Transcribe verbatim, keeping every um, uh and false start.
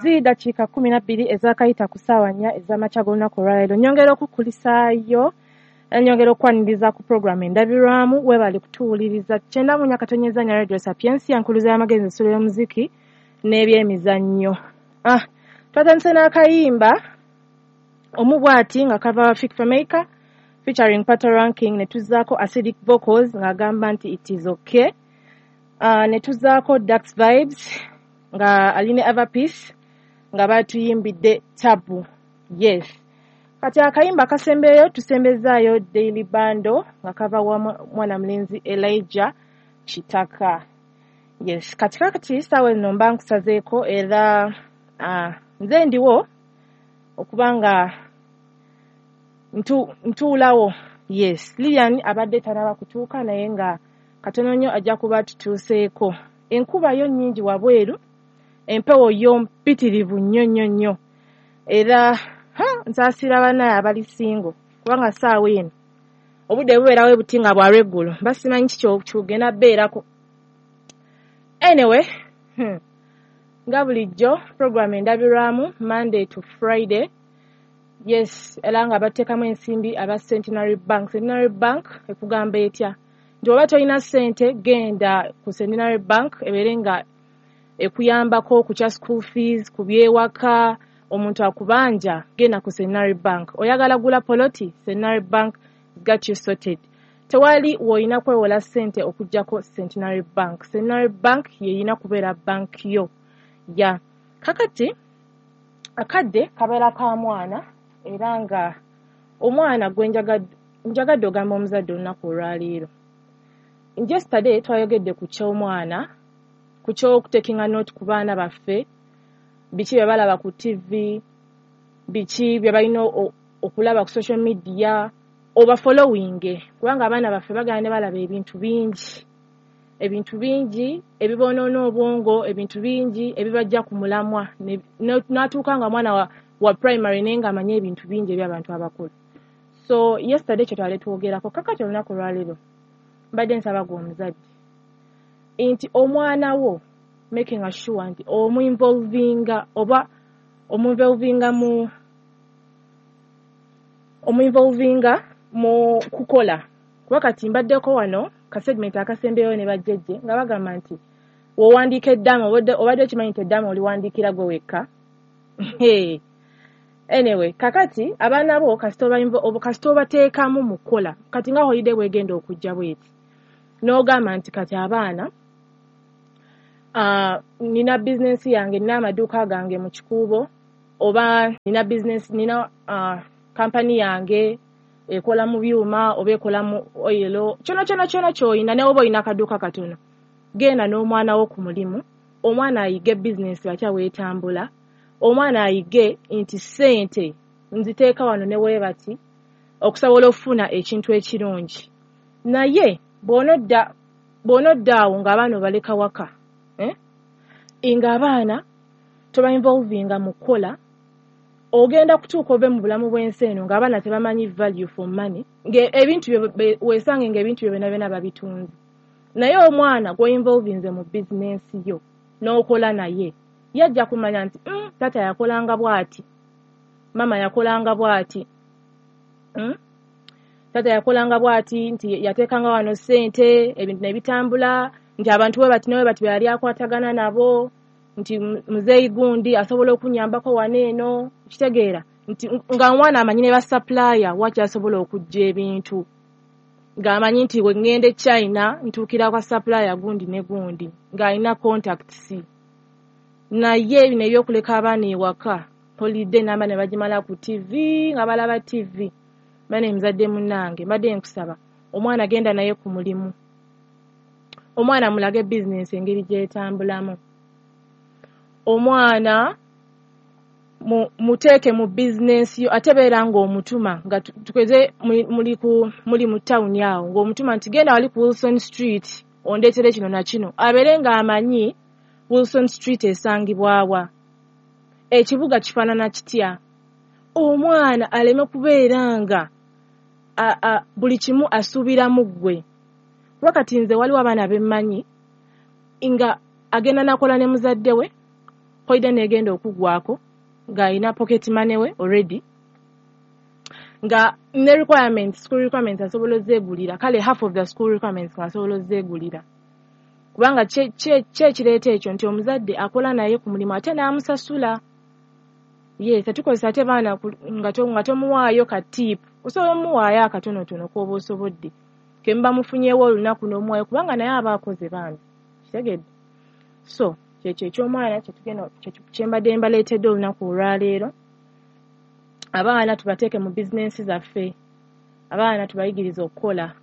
Ziri dakiika kkumi na bbiri ezaakayita ku ssaawa nnya ez'amakya g'olunaku olwaleero. Nnyongera okukulisaayo, nyongera okukwaniriza ku pulogulaamu Endabirwamu. Weebale kutuwuliriza. Kyenda mu nnya katonyeza nnya Radio Sapientia, nkuluza y'amagezi, ensulo y'omuziki n'ebyemizannyo. Ah, twatandise n'akayimba omu bw'ati nga kava Fik Fameica featuring Patoranking, ne tuzzaako Acidic Vocals ng'agamba nti "It Is Okay". Uh, ne tuzzaako Dax Vibes nga ali ne Ava Peace nga batuyimbidde "Tabu". Yes, kati akayimba akasembeyo tusembezaayo "Daily Bando" nga kava wa mwana mulenzi Elijah Kitaka. Yes, kati kakati saawa eno mba nkusazeeko era uh, nze ndiwo okuba nga ntu, ntuulawo. Yes, Lilian abadde tanaba kutuuka, naye nga katono nnyo ajja kuba tutuuseeko. Enkuba yo nnyingi wabweru, empewo yo mpitirivu nnyo nnyo nnyo, era ha, nsaasira bannaye abali single, kubanga saawa eno obudde bubeerawo buti nga bwa lweggulo, mba simanyi kiki kyogenda bbeerako. Anyway, hmm. nga bulijjo, program Endabirwamu, Monday to Friday. Yes, era nga bateekamu ensimbi aba Centenary Bank. Centenary Bank ekugamba etya? Nti oba tolina ssente, genda ku Centenary Bank ebeere nga ekuyambako ku kya school fees, ku byewaka, omuntu akubanja, genda ku Centenary Bank. Oyagala gula poloti, Centenary Bank got you sorted. Tewali w'olina kwewola ssente okuggyako Centenary Bank. Centenary Bank yeyina kubeera bank yo ya kakati. Akadde kabeera ka mwana, era nga omwana gwe njagadde ogamba omuzadde olunaku olwaleero. Yesterday twayogedde ku ky'omwana, ku ky'okutakinga note ku baana baffe, biki bye balaba ku T V, biki bye balina okulaba ku social media, oba following, kubanga abaana baffe bagenda ne balaba ebintu bingi, ebintu bingi ebibonoona obwongo, ebintu bingi ebibajja ku mulamwa, n'atuuka nga mwana wa, wa primary naye ng'amanyi ebintu bingi eby'abantu abakulu. So yesterday kye twali twogerako. Kakati olunaku olwaleero mbadde nsaba gwe omuzadde nti omwana wo making sure nti omuinvolvinga, oba omuinvolvinga mu omuinvolvinga mu kukola, kuba kati mbaddeko wano ka segment akasembeyo ne bajjejje nga bagamba nti w'owandiika eddaama, obadde okimanyi nti eddaama oliwandiikira gwe wekka? Anyway, kakati abaana bo kasita obateekamu mu kukola. Kati nga holiday bwegenda okujja bweti, n'ogamba nti kati abaana, uh, nina bizinensi yange, nina amaduuka gange mu Kikuubo, oba nina bizinensi, nina uh, kampani yange ekola mu byuma oba ekola mu oil, kyona kyona kyona ky'olina, ne oba olina akaduuka katono, genda n'omwana wo ku mulimu, omwana ayige bizinensi batya weetambula, omwana ayige nti ssente nziteeka wano ne weebati okusobola okufuna ekintu ekirungi. Naye bw'onodda bw'onodda awo ng'abaana obaleka waka, eh? Ng'abaana tobainvolvinga mu kukola, ogenda kutuuka ove mu bulamu bw'ensi eno ng'abaana tebamanyi value for money, ebintu weesange ng'ebintu byo byonna byonna babitunze. Naye omwana gw'oinvolvinze mu bizinensi yo n'okola naye, yajja kumanya nti mm, taata yakolanga bw'ati, maama yakolanga bw'ati, mm? taata yakolanga bw'ati, nti yateekanga wano ssente, ebintu ne bitambula, nti abantu we bati ne we bati be yali akwatagana nabo, nti muzeeyi gundi asobola okunyambako wano eno. Kitegeera nti nga omwana amanyi ne basupplier wakyasobola okujja ebintu, ng'amanyi nti bwe ŋŋenda e China ntuukira kwa supplier gundi ne gundi, ng'alina contacts. Naye bino ebyokuleka abaana ewaka holiday namba ne bagimala ku T V nga balaba T V, bane muzadde munnange, mbadde nkusaba omwana genda naye ku mulimu, omwana mulage bizinensi engeri gy'etambulamu, omwana muteeke mu bizinensi yo. Ate beera ng'omutuma nga tukeze muli ku muli mu tawuni awo, ng'omutuma nti genda wali ku Wilson Street ondeetere kino na kino, abeere ng'amanyi Wilson Street esangibwawa, ekibuga kifaanana kitya, omwana aleme kubeera nga buli kimu asuubiramu ggwe. Kuba kati nze waliwo abaana bemmanyi nga agenda nakola ne muzadde we. Holiday negenda okuggwako ng'alina pocket money we already, nga ne requirements, school requirements asobola ozeegulira. Kale half of the school requirements ng'asobola ozeegulira, kubanga ki ekireeta ekyo nti omuzadde akola naye ku mulimu ate n'amusasula. Ye tetukozesa ate baana nga tomuwaayo ka tip. Osobola omuwaayo akatonotono k'oba osobodde, ke muba mufunyeewo olunaku n'omuwaayo, kubanga naye aba akoze bambi, kitegedde? So kyekyo eky'omwana kyetugenda kyembadde mbaleetedde olunaku olwaleero. Abaana tubateeke mu bizinensi zaffe, abaana tubayigirize okukola.